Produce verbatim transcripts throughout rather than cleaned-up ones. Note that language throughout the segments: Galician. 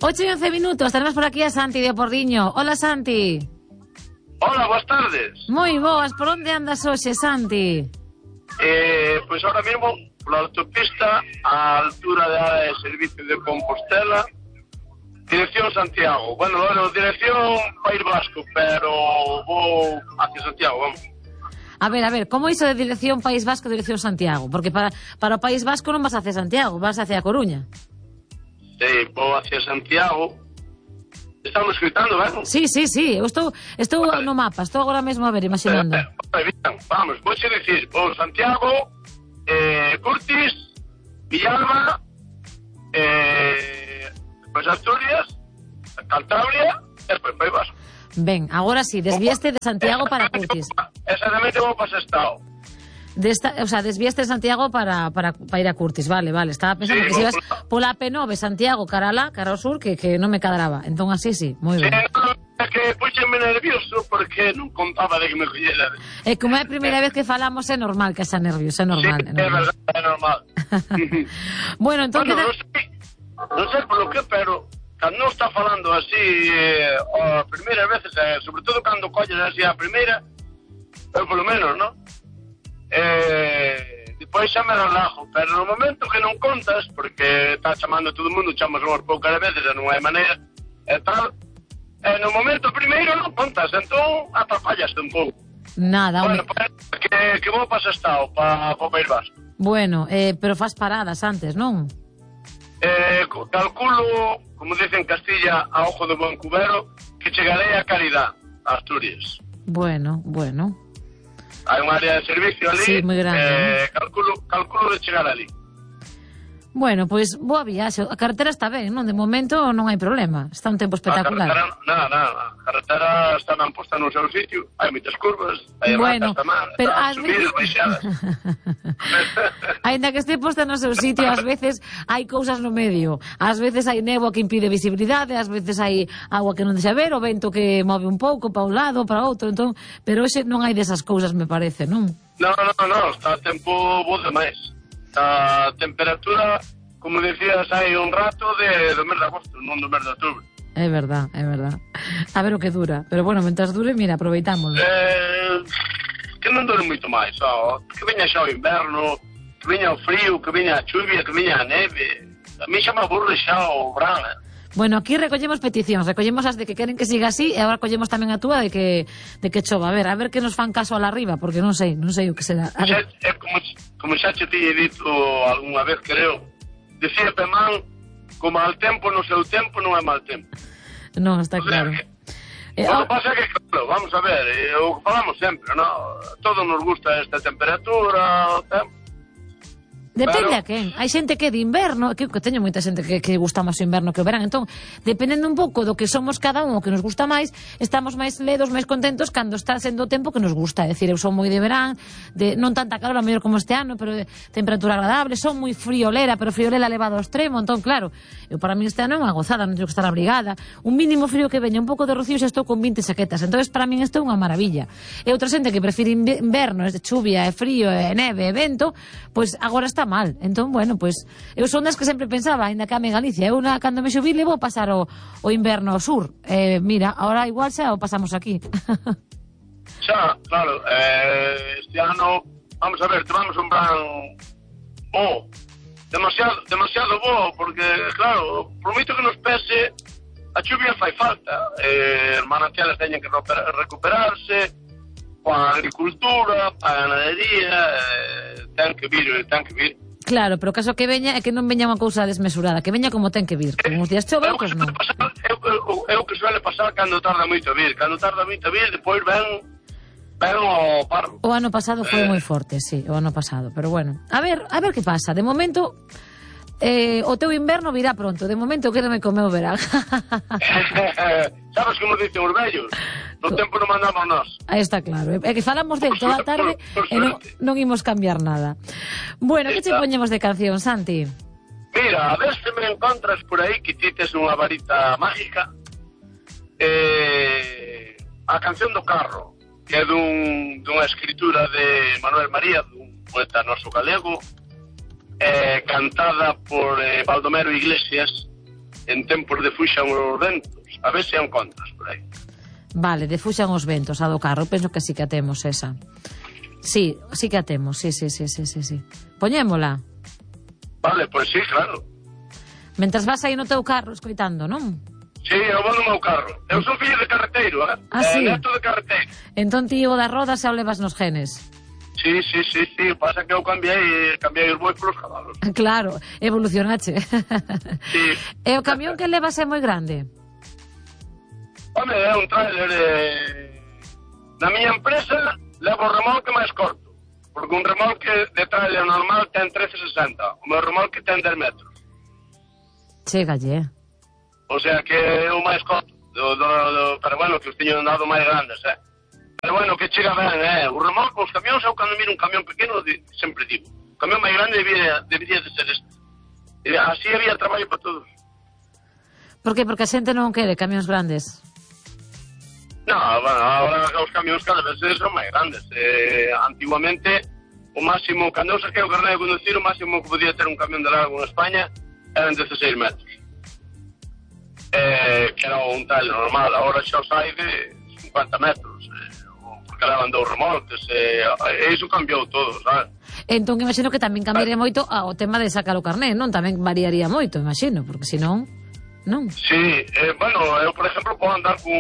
ocho y once minutos, tenemos por aquí a Santi de Porriño. Hola, Santi. Hola, boas tardes. Moi boas, por onde andas hoxe, Santi? Eh, pois ahora mesmo, pola autopista, a altura da área de servicio de Compostela, dirección Santiago. Bueno, bueno, dirección País Vasco, pero vou hacia Santiago, vamos. A ver, a ver, como iso de dirección País Vasco, dirección Santiago? Porque para, para o País Vasco non vas hacia Santiago, vas hacia a Coruña. Sí, vou hacia Santiago. Estamos escritando, ben? Sí, sí, sí, eu estou, estou vale. no mapa, estou agora mesmo a ver, imaginando. Eh, eh, bien, vamos, vou xe dicir, vou Santiago, eh, Curtis, Villalba, eh, depois Asturias, Cantabria, e depois País Vasco. Ben, agora sí, desviaste de Santiago para Curtis. Exactamente vou para Sestao. De esta, o sea, desviaste de Santiago para, para, para ir a Curtis, vale, vale. Estaba pensando sí, que si ibas pola P nove Santiago, cara alá, cara ao sur, que, que non me cadraba. Entón así, sí, moi ben. Sí, no, é que puxenme nervioso porque non contaba de que me collera. E como é a primeira vez que falamos, é normal que xa nervios, é normal. Sí, é, normal. é verdade, é normal. Bueno, entón... Bueno, non sei, non sei polo que, pero cando non está falando así eh, a primeira veces, eh, sobre todo cando colles así a primeira, eu polo menos, non? Eh, depois xa me relajo, pero no momento que non contas, porque está chamando todo o mundo, chamas unhas poucas veces e non hai maneira e tal, e no momento primeiro non contas, entón atrapallaste un pouco. Nada, bueno, pues, que, que vou para Sestao, para o País Vasco. Bueno, eh, pero faz paradas antes, non? Eh, calculo, como dicen en Castilla, a ojo de buen cubero, que chegarei a Caridad, a Asturias. Bueno, bueno. Hai un área de servicio ali, sí, moi grande, eh, calculo, calculo de chegar ali. Bueno, pois, pues, boa viaxe. A carretera está ben, non? De momento non hai problema. Está un tempo espectacular. A carretera, nada, nada. A carretera está ben posta no seu sitio. Hai moitas curvas, hai bueno, ratas tamén, pero ás subidas, veces... baixadas. Ainda que este posta no seu sitio, ás veces hai cousas no medio. Ás veces hai néboa que impide visibilidade, ás veces hai agua que non deixa ver, o vento que move un pouco para un lado, para outro, entón, pero hoxe non hai desas cousas, me parece, non? Non, non, non, está a tempo bo demais. A temperatura, como decías, hai un rato de, do mes de agosto, non do mes de outubro. É verdad, é verdad. A ver o que dura. Pero bueno, mentras dure, mira, aproveitámoslo. Eh, que non dure moito máis, ó. Que veña xa o inverno, que veña o frío, que veña a chuvia, que veña a neve. A mí xa me aburre xa o verán, eh. Bueno, aquí recollemos peticións, recollemos as de que queren que siga así e agora recollemos tamén a túa de que de que chova. A ver, a ver que nos fan caso a la arriba, porque non sei, non sei o que será. É, é como, como xa te tiñe dito algunha vez, creo, decía Pemán, como al tempo no seu tempo non é mal tempo. Non, está claro. O sea, que, eh, o que pasa é que, claro, vamos a ver, eh, o que falamos sempre, ¿no? Todos nos gusta esta temperatura, o tempo. Depende pero... a quen. Hai xente que de inverno, que, que teño moita xente que, que gusta máis o inverno que o verán. Entón, dependendo un pouco do que somos cada un, o que nos gusta máis, estamos máis ledos, máis contentos cando está sendo o tempo que nos gusta. É dicir, eu son moi de verán, de non tanta calor, a mellor como este ano, pero de temperatura agradable, son moi friolera, pero friolera elevado ao extremo. Entón, claro, eu para mí este ano é unha gozada, non teño que estar abrigada. Un mínimo frío que veña, un pouco de rocío, xa estou con vinte saquetas. Entón, para mí isto é unha maravilla. E outra xente que prefire inverno, é de chuvia, é frío, é neve, é vento, pois agora está mal. Entón, bueno, pois eu son das que sempre pensaba, ainda que ame Galicia, eu na, cando me xubile vou pasar o, o inverno ao sur. Eh, mira, ahora igual xa o pasamos aquí. Xa, claro, eh, este ano, vamos a ver, tomamos un plan bo, demasiado, demasiado bo, porque, claro, por moito que nos pese, a chuvia fai falta, eh, os manantiales teñen que recuperarse, para a agricultura, para a ganadería, eh, ten que vir, ten que vir. Claro, pero o caso que veña é que non veña unha cousa desmesurada, que veña como ten que vir. Como uns días chove, outros non. É o que suele pasar cando tarda moito a vir. Cando tarda moito a vir, depois ven, ven o parro. O ano pasado foi eh... moi forte, sí, o ano pasado. Pero bueno, a ver, a ver que pasa. De momento, eh, o teu inverno virá pronto. De momento, quédame comer o verán. Sabes como dicen os vellos? No tempo non mandamos nós. Aí está claro. É que falamos del toda a tarde e non, non imos cambiar nada. Bueno, que che poñemos de canción, Santi? Mira, a ver se me encontras por aí que ti tes unha varita mágica. Eh, a canción do carro, que é dun, dunha escritura de Manuel María, dun poeta noso galego, eh, cantada por eh, Baldomero Iglesias, en tempos de fuxan os ventos. A ver se a encontras por aí. Vale, de fuxan os ventos, a do carro. Penso que sí que a temos esa. Sí, sí que a temos, sí, sí, sí, sí, sí, sí. Poñémola. Vale, pois sí, claro. Mentras vas aí no teu carro escoitando, non? Sí, eu vou no meu carro. Eu son fillo de carreteiro, eh? Ah, sí? Eh, neto de carreteiro. Entón ti o das rodas xa o levas nos genes. Sí, sí, sí, sí. Pasa que eu cambiei, cambiei os bois polos cabalos. Claro, evolucionache. Sí. E o camión que levas é moi grande? Home, é un trailer eh... Na miña empresa levo o remolque máis corto. Porque un remolque de trailer normal ten trece sesenta. O meu remolque ten dez metros. Chegalle. O sea que é o máis corto. Do, do, do, pero bueno, que os teño dado máis grandes, eh? Pero bueno, que chega ben, eh? O remolque, os camións, eu cando miro un camión pequeno, di, sempre digo, o camión máis grande debería, debería de ser este. E así había traballo para todos. Por que? Porque a xente non quere camións grandes. No, bueno, ahora os camións cada vez son máis grandes. Eh, antiguamente, o máximo, cando eu saquei o carné de conducir, o máximo que podía ter un camión de largo en España eran dezaseis metros. Eh, que era un tal normal, agora xa o sai de cincuenta metros. Eh, porque levan dous remolques, e eh, iso cambiou todo, sabes? Entón, imagino que tamén cambiaría moito o tema de sacar o carné, non? Tamén variaría moito, imagino, porque senón, non? Sí, eh, bueno, eu, por exemplo, podo andar con,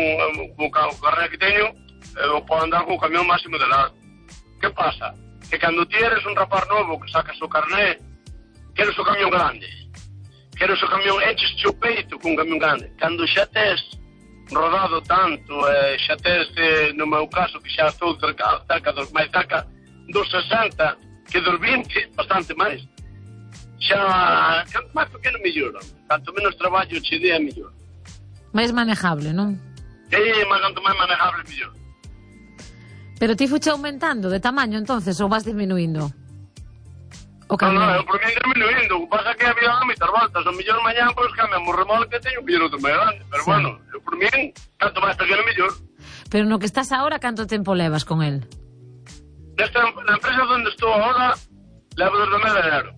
con, con o carné que teño, eu podo andar con o camión máximo de largo. Que pasa? Que cando ti eres un rapaz novo que sacas o carné, queres o camión grande. Queres o camión, enches o peito con un camión grande. Cando xa tes rodado tanto, eh, xa tes, eh, no meu caso, que xa estou cerca, cerca dos máis cerca dos sesenta, que dos vinte, bastante máis. Xa, canto máis pequeno, mellor. Canto menos traballo che dea, mellor. máis manejable, non? Sí, mas canto máis manejable, mellor. Pero ti fuche aumentando de tamaño, entonces, ou vas disminuindo? O No, camión? no, eu por mí disminuindo. O que pasa é que había a mitad voltas. O mellor mañán, pois, cambiamos o remolque, teño un piloto máis grande. Pero Sí. bueno, eu por mí, canto máis pequeno, mellor. Pero no que estás ahora, canto tempo levas con el? Nesta, na empresa onde estou agora, levo desde o mes de enero.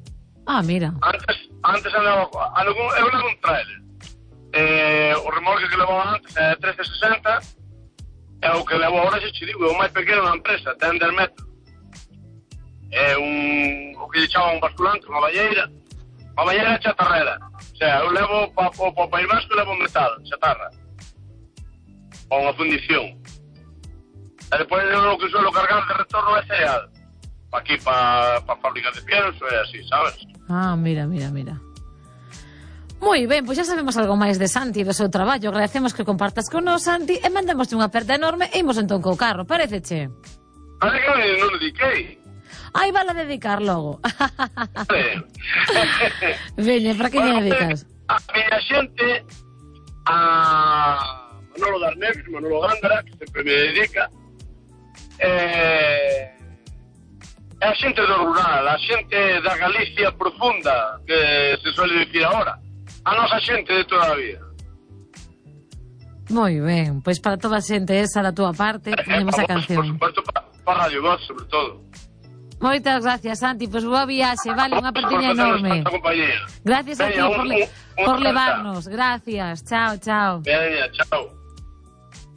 Ah, mira. Antes, antes andaba, algún, eu levo un trailer. Eh, o remolque que levaba antes é trece sesenta, e o que levo agora, xa che digo, é o máis pequeno da empresa, ten dez metros. É un, o que lle chaman un basculante, unha balleira. Unha balleira chatarrera. O sea, eu levo para pa, pa, País Vasco, levo metal, chatarra. Ou unha fundición. E depois eu o que suelo cargar de retorno é cereal. Pa aquí, pa, pa fábricas de pienso, é así, sabes? Ah, mira, mira, mira. Moi ben, pois xa sabemos algo máis de Santi e do seu traballo. Agradecemos que compartas con nos, Santi, e mandemos unha aperta enorme e imos entón co carro, pareceche? Parece que non o dediquei. Ai, vala dedicar logo. Vale. Veña, para que Bueno, lle dedicas? A miña xente, a Manolo Darneros, Manolo Gándara, que sempre me dedica, eh, é a xente do rural, a xente da Galicia profunda, que se suele dicir agora, a nosa xente de toda a vida. Moi ben, pois para toda a xente esa da túa parte, poñemos a Por canción. supuesto, para pa Radio Voz, sobre todo. Moitas gracias, Santi, pois boa viaxe, vale, unha apertiña enorme. Gracias a ti Veña, por, un- le un- por un- levarnos, gracias, chao, chao. Veña, chao.